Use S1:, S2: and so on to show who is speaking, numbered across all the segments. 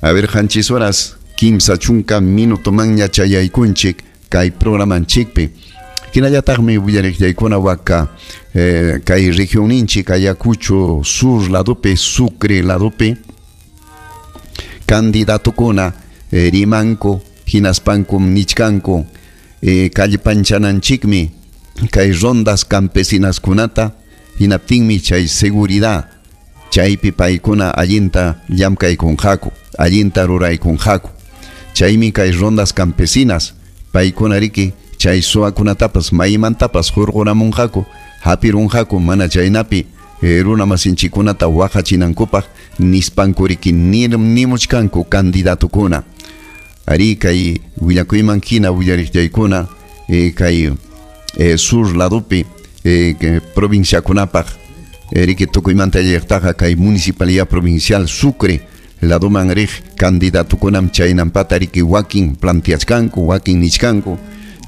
S1: A ver, 7 horas 30 minutomanña chayaykunchik kay programanchikpi. Hinallataqmi willariqllaykuna waka kay regionninchik Ayacucho sur ladopi, Sucre ladopi candidatokuna rimanku hinaspankum nichkanku kallpanchananchikmi kay rondas campesinaskunata hinaptinmi chay seguridad chaypi paykuna allinta llamkaykunqaku, allinta ruraykunqaku. Chaymi kay rondas campesinas paykuna riki chay suwakunatapas maymantapas hurquramunqaku, hapirunqaku mana chaynapi runa masinchikunata waqachinankupaq nispanku riki nimuchkanku candidatukuna. Ari kay willakuyman hina willariqllaykuna kay sur ladopi provinciakunapaq riki tukuymanta llaqtaqa kay municipalidad provincial Sucre ladoman riq candidatukunam chaynampata riki wakin planteachkanku, wakin nichkanku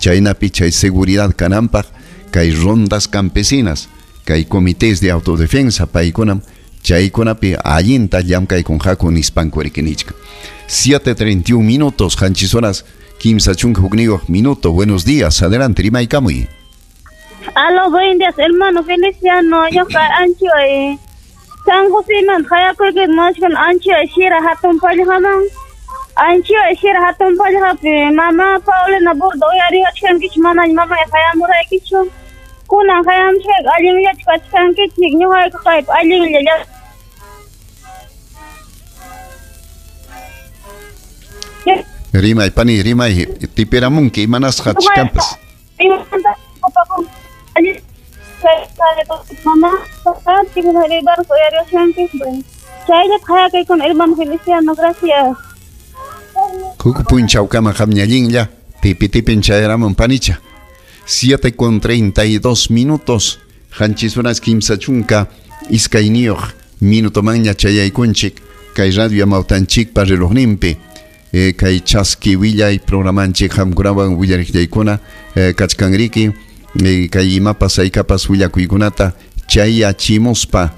S1: chaynapi chay seguridad kananpaq kay rondas campesinas, kay comités de autodefensa paykunam chaykunapi allinta llamkaykunqaku nispanku riki nichkan. 7:31 minutos, 7 horas 31 minutos. Buenos días, adelante, rimaykamuy.
S2: Aló, buen días, hermano Feliciano. Yo ancho San José man hayakuyki mashkan ancho shira hatun pallqaman. Ancho shira hatun pallqapi mama Paulina Burdo uyariwachkankichik manaña mamay hayamuraykichu. Kunan hayamushkayki allinllachu kachkankichik ñuqayku kaypi allinlla.
S1: Rimay pani, rimay, tipiramunki imanasqa chkanpas.
S2: Chayllata hayakaykuna hermano Feliciano, gracias.
S1: Huk punchawkama qamñallinlla tipi tipin chayaramun panicha. 7:32 minutos, 7 horas 32 minutomanña chayaykunchik kay radio amawtanchikpa relojninpi. Kay chaski willay programanchik qamkunawan willariqllaykuna kachkanriki kay imapas haykapas willakuykunata chayachimuspa.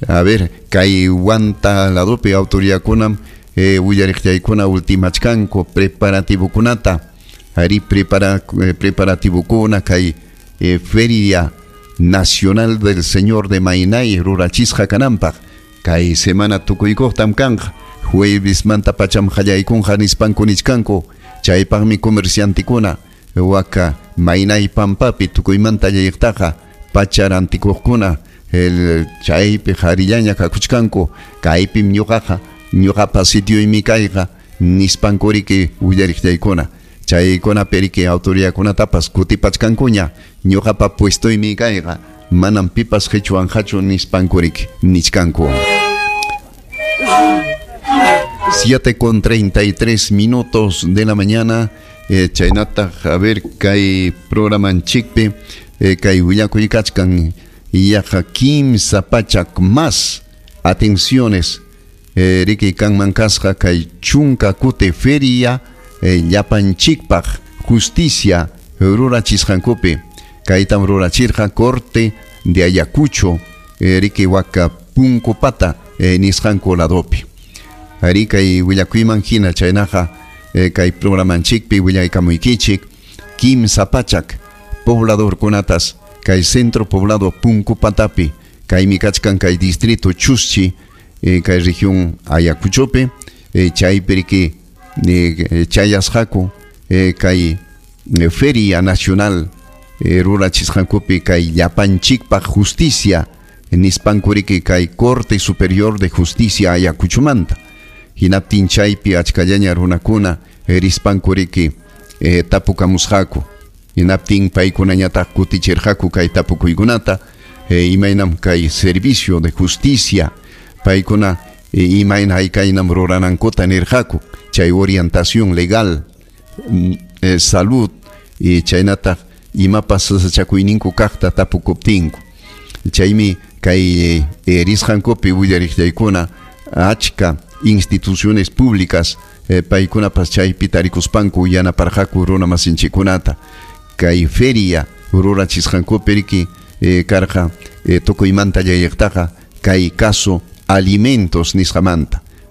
S1: A ver, kay Huanta ladopi autoridadkunam willariqllaykuna ultimachkanku preparativokunata. Ari preparativokuna kay Feria Nacional del Señor de Mainay rurachisqa kananpaq kay semana tukuykuqtam kanqa. Jueves manta pacham qallaykunqa nispanku nichkanku chaypaqmi comerciantikuna waka Mainay pampapi tukuymanta llayqtaqa pacharantikuqkuna chaypi qharillaña kakuchkanku kaypim ñuqaqa ñuqapa sitioymi kayqa nispanku riki willariqllaykuna chaykunapi riki autoridadkunatapas kutipachkankuña ñuqapa puestoymi kayqa manam pipas qichwanqachu nispanku riki nichkanku. 7:33 minutos de la mañana, chaynataq a ver kay programanchikpi kay willakuy kachkan yaqa 15 pachak más atenciones riki kanman kasqa kay chunka kuti feria llapanchikpaq justicia rurachisqankupi kaytam rurachirqa corte de Ayacucho riki waka Punkupata nisqanku ladopi. Ari kay willakuyman hina chaynaqa kay programanchikpi willaykamuykichik 15 pachak pobladorkunatas kay centro poblado Punkupatapi kaymi kachkan kay distrito Chuschi kay región Ayacuchopi chaypi riki chayasqaku kay Feria Nacional rurachisqankupi kay llapanchikpaq justicia nispanku riki kay Corte Superior de Justicia Ayacuchomanta. Hinaptin chaypi achkallaña runakuna rispanku riki tapukamusqaku. Hinaptin paykunañataq kutichirqaku kay tapukuykunata imaynam kay servicio de justicia paykuna imayna haykaynam ruranankuta nirqaku chay orientación legal salud chaynataq imapas sasachakuyninku kaqta tapukuptinku. Chaymi kay risqankupi willariqllaykuna achka instituciones públicas paykunapas chaypi tarikuspanku yanaparqaku runa masinchikunata kay feria rurachisqankupi riki karqa tukuymanta llayaqtaqa kay caso alimentos nisqamanta.